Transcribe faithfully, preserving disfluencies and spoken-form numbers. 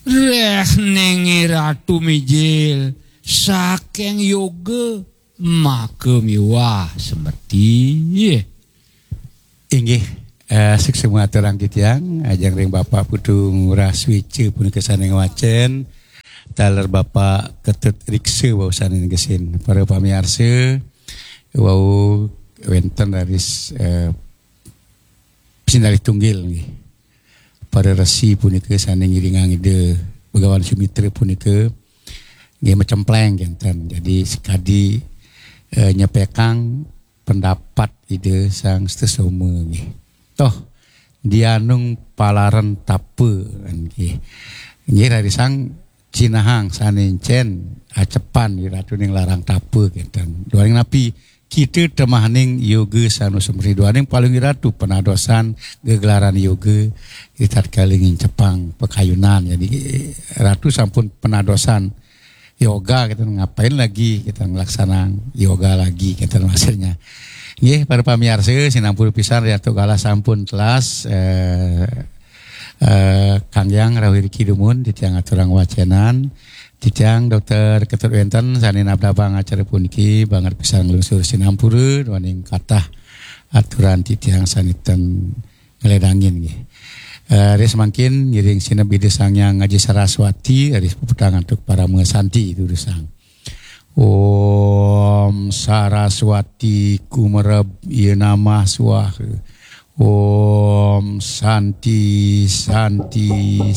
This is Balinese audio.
Reh nenge Ratu Mijil, saking yoga maka miwah semerti. Inggih, eh, suksma aturang titiang, ajeng ring Bapak Putu Ngurah Swica punika sane ngwacen, taler Bapak Ketut Riksa wau sane negesin. Para pamiarsa, wau wenten raris, eh, sinalih tunggil nggih. Para resi punika sane ngiringang Ida Begawan Sumitra punika nggih macempleng kenten. Jadi sekadi, eh, nyepekang pendapat Ida Sang Sutesoma nggih. Toh dianung palaren tapa nggih. Nggih rarisang cinahang sane encen acepan Ratu ning larang tapa kenten. Duaning napi kita temahaning yoga sane sumri duaning paling Ratu penadosan gegelaran yoga di tatkala ngincepang pakayunan. Jadi Ratu sampun penadosan yoga kita ngapain lagi kita ngelaksanang yoga lagi kita maksudnya. Nggih, para pamiarsa, sinampura pisan Ratu Galah sampun telas, eh, eh, Kang Yang rawuh iriki dumun titiang aturang wacenan. Titiang Dokter Ketut wenten sane nabdabang acara puniki banget pisan nglungsur sinampura duaning katah aturan titiang sane ten ngledangin nggih. Eh, ris mangkin ngiring sineb Ida Sang Hyang Aji Saraswati, ris puputang antuk parama santi durusang. Om Saraswati kumereb ya namah swaha. Om Santi, Santi,